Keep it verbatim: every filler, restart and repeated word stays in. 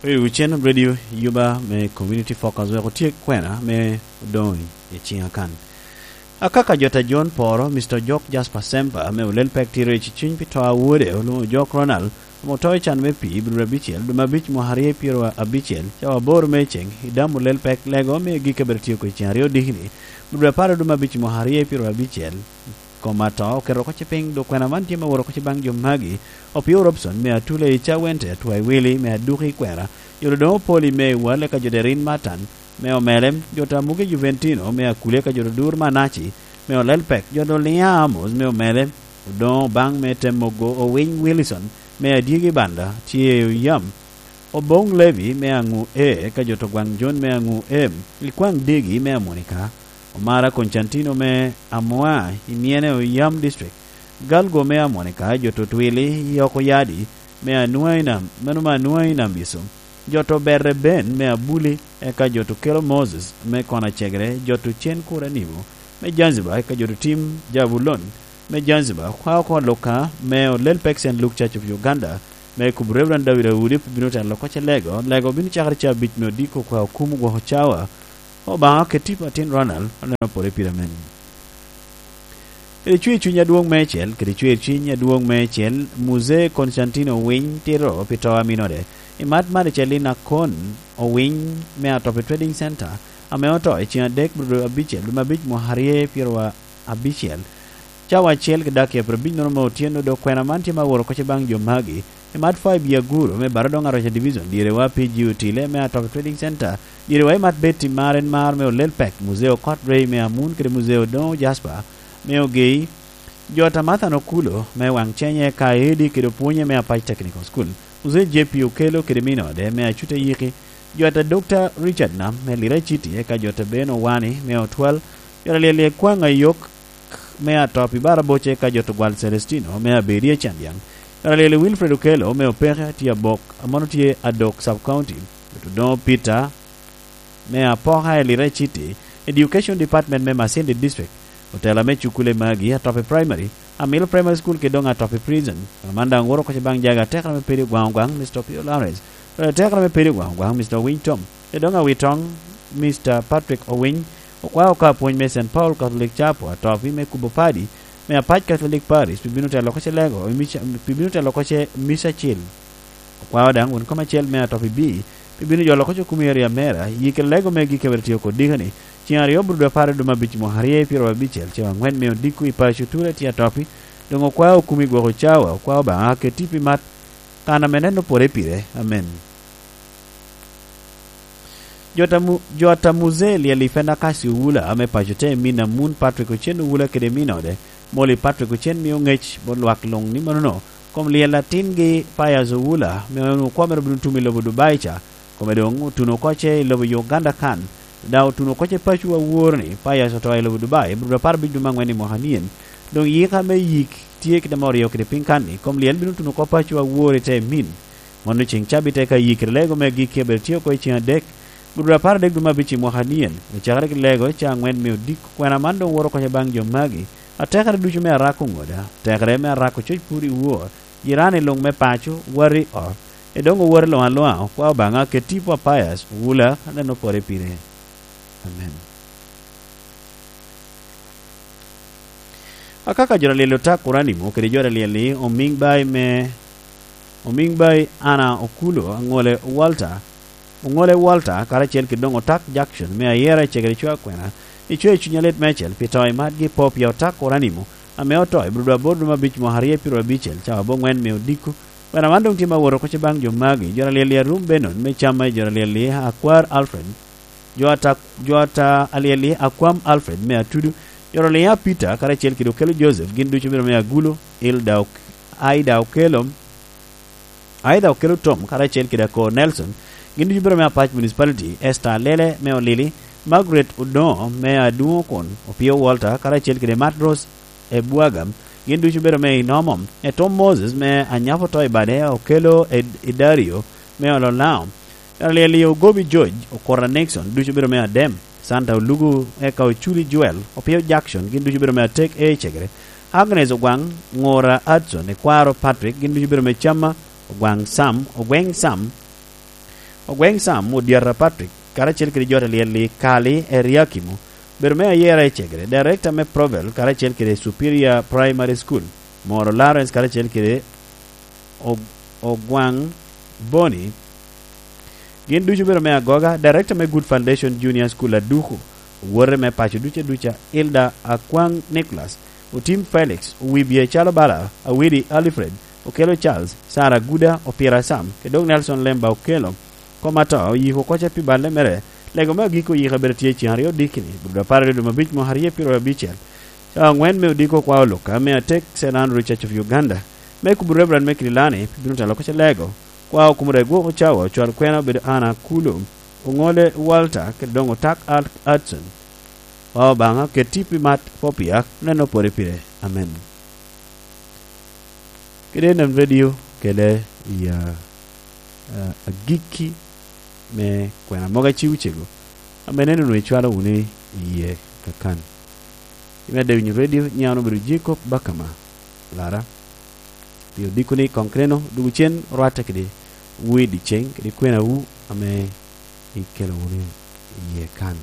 Oyo Cen Radio Yuba me Community Focus wek otye kwena me odoŋ i ciŋa kan. Akaka jo ta John Poro, Mister Ojok Jasper Sempa, me olel pek tiro i cuny pi to a wode, olwoŋo Ojok Ronald, ame oto i can me pii, i Ibru abicel, dwe me abic mwaka aryo pyero abicel, cawa aboro me ceŋ, i damo olel pek lego me gik a bedo tye oko i ceŋ aryo dikini, Ibru apar dwe me abic mwaka aryo pyero abicel. Kom ato oketo oko ce piny, dok kwena man tye me woro oko ce baŋ jo magi. Opio Robson me Atula i Cawente, Atwai Wili me Aduki Kwera, jo Dodongo Poli me Iwal, eka jo Derin Matan me Omelem, jo Tamuge Juventino me Akule, eka jo Dodur Manaci me Olelpek, jo Doliŋa Amos me Omelem, Odoŋo Obaŋ me Temogo, Owiny Wilson me Adyegi Banda, tye Oyam, Oboŋ Levi me Aŋu E, eka jo to Gwaŋ Jon me Aŋu M, Likwaŋ Degi me Amonika, Omara Koncantino me Amoa i Myene Oyam District, Galgo me Amonika, jo to Twili i Oko Yadi me Anua i Nam, meno me Anua i Nam Biso, jo to Berre Ben me Abuli, eka jo to Kelo Moses me Kona Cegere, jo to Cen Kura Nimo me Zanzibar, eka jo to Tim Jabulon me Zanzibar, kwa oko Luka me Olel Pek Saint Luke Church of Uganda, me kubo Reverend David Audi, bino telo oko ce lego, lego bino cakere ca abic me odiko kwa okum gwoko cawa. Obaŋa ket tipo atin Ronald, oneno pore pire men. Kede cwer cuny adwoŋ meicel, kede cwer cuny adwoŋ meicel, Muzee Konstantino Owiny tito pi to a minode. I mat man icel i Nakon Owiny me Atopi Trading Center, ame oto i ceng adek, bro abicel, dwe me abic mwaka aryo pyero abicel, cawa acel kede dakika pyero abic nono me otyeno, dok kwena man tye me aworo oko ce baŋ jo magi. I mat Five Year Guru me Barodoŋ Aroca Division, dyere wa P G Otile me Atopi Trading Center, dyere wa i mat Betty Mar en Mar me Olel Pek, Muzee Okot Rey me Amun kede Muzee Odoŋo Jasper me Ogei, jo Tamathan Okulo me Waŋ Cenye ka Edi kede opwonye me Apac Technical School, Muzee J P Okelo kede minode me Acuta Yiki, jo ata Dokta Richard Nam me Lira City, eka jo ata Ben Owani me Otwal, jo ata Lyelyek Kwaŋ Ayok me Atop i Baraboce, eka jo to Gwal Celestino me Abedi Acandyaŋ, jo ata Lyelyek Wilfred Okelo me Opeke tye Abok, a mano tye Adok Sub County, jo to Doŋo Peter me Apoka i Lira City, Education Department me Masindi District, otela me cukule magi, Atopi Primary, Amilo Primary School kede doŋ Atopi Prison. Kono man daŋ woro oko ce baŋ jaga atekere me Pedi Ogwaŋ Ogwaŋ, Mister Opio Lawrence, atekere me Pedi Ogwaŋ Ogwaŋ, Mister Owiny Tom, kede doŋ Awitoŋ, Mister Patrick Owiny, okwao ka pwony me Saint Paul Catholic Chapel, Atopi me kubo padi me Apac Catholic Parish, pi bino telo oko ce lego, i mica-, pi bino telo oko ce mica acil. Okwao daŋ won kom acel me Atopi B, pi bino jolo oko ce okumi area mera, yik i lego me gik a bedo tye oko dikani, ceŋ aryo bro dwe apar i dwe me abic mwaka aryo pyero abicel, cawa aŋwen me odiko i paco Ture tye Atopi, doŋ okwao okumi gwoko cawa, okwao Obaŋa ket tipo i mat, kan ame neno pore pire. Amen. Jo ta Mu-, jo ta Muzee Lyel i Fenda Kasi Owula ame paco te min Amun Patrick Ocen Owula kede minode, Molly Patrick Ocen mio ŋec bot lwak luŋ ni manono, kom lyel atingi Pius Owula, me onwoŋo kwo mere obino tum i lobo Dubai ca, kome doŋ otuno oko ce i lobo Uganda kan, daŋ otuno oko ce paco awor ni Pius oto i lobo Dubai, bro apar abic dwe me aŋwen i mwaka nien, doŋ yika me yik tye kede ame oryo kede piny kan ni, kom lyel bino tuno oko paco awor i te min. Mano ceŋ cabit eka yikere lego me agikki a bedo tye oko i ceŋ adek, gudo apar adek dwe me abic i mwaka nien, ocakere ki lego ca aŋwen me odiko. Kwena man doŋ woro oko ce baŋ jo magi, atekere ducu me arako ŋoda, atekere me arako coc pur i wor, jirani luŋ me paco, wati ot, edoŋ owoti luŋ aluŋa, okwao Obaŋa ket tipo a Pius Owula, aneno pore pire. Amen. Akaka jo ta Lyel Otak Kuranimo kede jo ta Lyel-li Omiŋ Bayi me, Omiŋ Bayi Ana Okulo, Aŋole Walter, Oŋole Walter, karacel kede doŋ Otak Jackson me Ayera i Cegere Cwa Kwena, icweo cunya lit meicel pi to i matgi po pia Otak Kuranimo, ame oto i bro dwe aboro dwe me abic mwaka aryo pyero abicel, cawa aboŋwen me odiko. Kwena man doŋ tye me awot oko ce baŋ jo magi, jo ta Lyel-li Arum Benon me Camma, jo ta Lyel-li Akwar Alfred, jo ata, jo ata Lyel-li Akwam Alfred me Atudu, jo ta Lyel-li Peter karacel kede Okelo Joseph, gin ducu obedo me Agulo, Ilda Ok-, Aida Okelo, Aida Okelo Tom karacel kede Akor Nelson, gin ducu obedo me Apac Municipality, Esther Alele me Olili, Margaret Odoŋo me Aduŋo kun, Opio Walter karacel kede Matros Ebwaga, gin ducu obedo me Inomo, Etom Moses me Anyapo to i bade, Okelo Ed-, Idario me Ololao, Lyel-li Ogobi George, Okota Nixon, ducu obedo me Adem, Santa Olugu, eka Oculi Joel, Opio Jackson, gin ducu obedo me Atek A Cegere, Agnes Ogwaŋ, Ŋora Hudson, Ekwaro Patrick, gin ducu obedo me Camma, Ogwaŋ Sam, Ogweng Sam, Ogweng Sam Odyata Patrick, karacel kede jo a lyel i Kali, Eriakimu, bedo me ayera i Cegere, director me Provel, karacel kede Superior Primary School, Moro Lawrence, karacel kede Og-, Ogwang Boni, gin ducu bedo me agoga, director me Good Foundation Junior School Aduku, owote me paco ducu duca, Hilda Akwang Nicholas, Otim Felix, Owibye Calo Bala, Awidi Alfred, Okelo Charles, Sarah Guda, Opira Sam, kede dok Nelson Lemba Okelo. Kom ato oyiko koca pi balle mere, lego me agikki oyiko abedo tye ceŋ aryo dikini, gudo apar i ludo mabic mwaka aryo pyero abicel. Cawa angwen me odiko kwa oluka, me atek Saint Andrew Church of Uganda, me kubo Reverend Mekiri Lani, pi bino telo koca lego. Kwa okumura i gwoko cawa, ocwal kwena obedo Anna Kulo, Oŋole Walter, kede doŋ Otak Al-, Hudson. Kwa Obaŋa, ket tipo i mat Popia, neno pwode pire. Amen. Kede en radio kele i, ah, ah, agikki me kwena mogo aciwu cego, ame neno onwoŋo icwalo wunu i yie kakan. I medde winyo radio, nyiŋ an obedo Jacob Bakama Lara. Pi odiko ni koŋ keneno, dwogo cen orwatte kede wu i dyeceŋ, kede kwenawu ame ikelo wunu i yie kan.